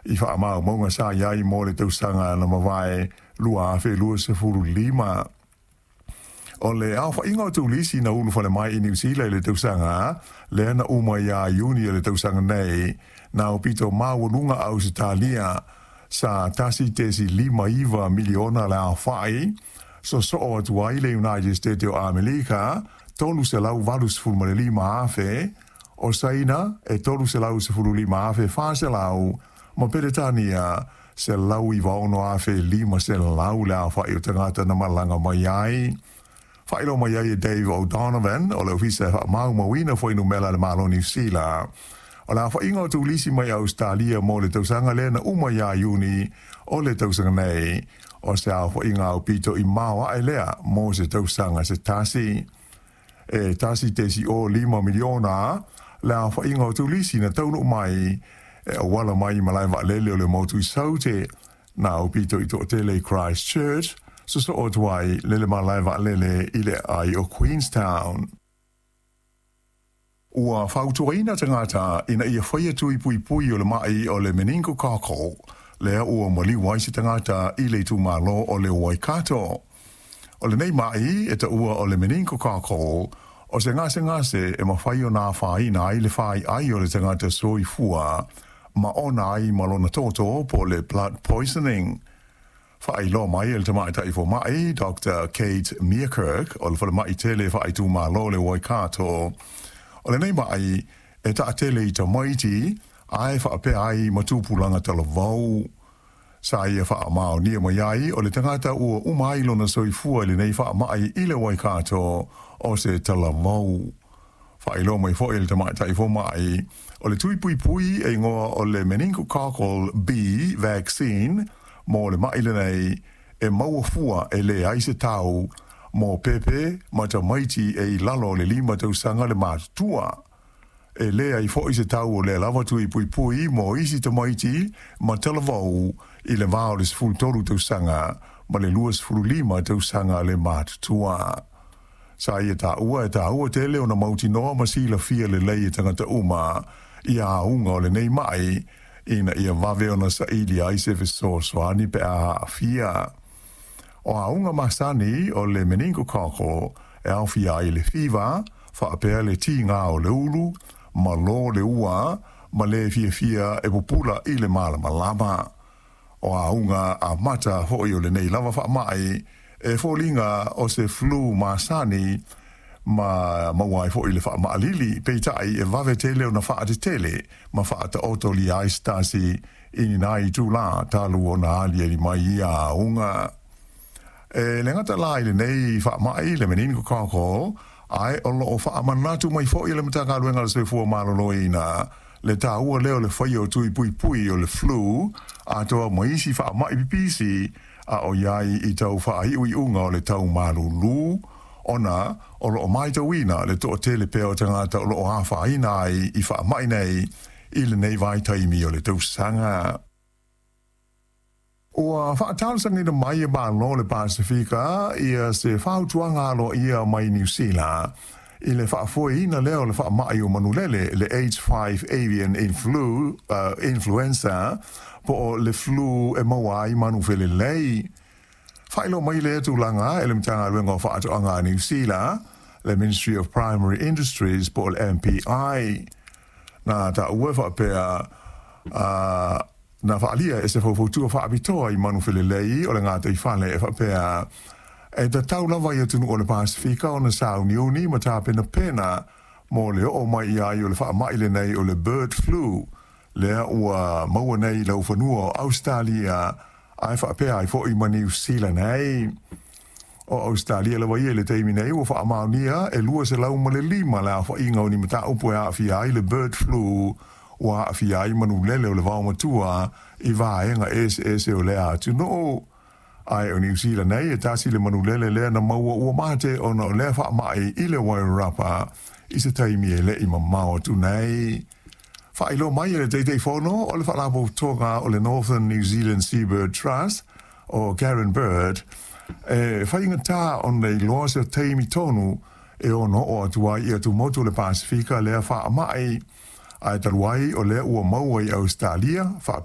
I faamaumauga sa i ai mo le tausaga na mavae 2025. O le aofaiga o turisi na ulufale mai i Niu Sila i le tausaga lea na uma ia Iuni o le tausaga nei, na aupito maualuga Ausetalia sa 1.59 miliona le aofai, sosoo atu ai le United States o Amerika 385,000, o Saina e 315,400, ma Peretania 196,500 le aofai o tagata na malaga mai ai. Faailoa mai ai e Dave O'Donovan o le Ofisa e Faamaumauina Fuainumera a le Malo o Niu Sila, o le aofaiga o turisi mai Ausetalia mo le tausaga lea na uma ia Iuni o le tausaga nei, o se aofaiga aupito i maoae lea mo se tausaga se tasi. E 1.05 miliona le aofaiga o turisi na taunuu mai e auala mai i malae vaalele o le motu i Saute, na aupito i toatele i Christchurch, sosoo atu ai le le malae vaalele i le aai o Queenstown. Ua fautuaina tagata ina ia faia tui puipui o le ma'i o le meningococcal lea ua maliu ai se tagata i le itumalo o le Waikato. O lenei ma'i e taua o le meningococcal o se gasegase e mafai ona afaina ai le fai'ai o le tagata soifua ma ona ai ma lona toto po o le blood poisoning. Faailoa mai e le tamaitai foma'i Doctor Kate Meerkerk o le falemai tele faaitumalo o le Waikato, o lenei ma'i e taatele i tamaiti ae faapea ai ma tupulaga talavou. Sa ia faamaonia mai ai o le tagata ua uma ai lona soifua i lenei faamai i le Waikato o se talavou. Faailoa mai foi e le tamaitai foma'i o le tui puipui e igoa o le meningococcal B vaccine mo le ma'i lenei e maua fua e leai se tau mo pepe ma tamaiti e i lalo o le 5 tausaga le matutua. E leai foi se tau o lea lava tui puipui mo isi tamaiti ma talavou i le va o le 13 tausaga ma le 25 tausaga le matutua. Sa ia taua e taua tele ona mautinoa ma silafia lelei e tagata uma ia auga o lenei ma'i ina ia vave ona saili ai se fesoasoani pe a aafia. O auga masani o le meningococcal e aofia ai le fiva, faapea le tiga o le ulu, malo le ua, ma le fiafia e pupula i le malamalama. O auga amata foi o lenei lava faamai e foliga o se flu masani ma maua ai foi le faamaalili, peitai e vave tele ona faatetele ma faataotolia ai se tasi i ni nai itulā talu ona aliali mai ia auga. E le gata la i lenei faamai le meningococcal, ae o lo o faamanatu mai foi e le Matagaluega o le Soifua Maloloina le taua lea o le faia o tui puipui o le flu atoa ma isi faamai pipisi a o i ai i tau faaiuiuga o le tau malulu, ona o lo o matauina le toatele pea o tagata o lo o afaina ai i faamai nei i lenei vaitaimi o le tausaga. Ua faatalosagaina mai e Malo o le Pasefika ia se fautuaga aloaia mai Niu Sila i le faafoeina lea o le faamai o manulele, le H5 avian influ, influenza, po o le flu e maua ai manu felelei. Faailoa mai lea tulaga e le Matagaluega o Faatoaga a Niu Sila, le Ministry of Primary Industries po o le MPI. Na taua e faapea, na faaalia e se faufautua faapitoa i manu felelei o le gataifale e faapea, e tatau lava i atunuu o le Pasefika ona sauniuni ma tapenapena mo le oo mai i ai o le faamai lenei o le bird flu, lea ua maua nei i laufanua o Ausetalia ae faapea ai foi ma Niu Sila nei. O Ausetalia lava ia i le taimi nei ua faamaonia e 205 le aofaiga o ni mataupu e aafia ai le bird flu ua aafia ai manulele o le vaomatua i vaega eseese o lea atunuu. Ae o Niu Sila nei e tasi le manulele lea na maua ua mate ona o lea faamai i le Wairarapa i se taimi e le i mamao atu nei. Faailoa mai e le Taitaifono o le Faalapotopotoga o le Northern New Zealand Seabird Trust, o Karen Bird, e faigata ona iloa se taimi tonu e ono oo atu ai i atumotu o le Pasefika lea faamai, ae talu ai o lea ua maua i Ausetalia.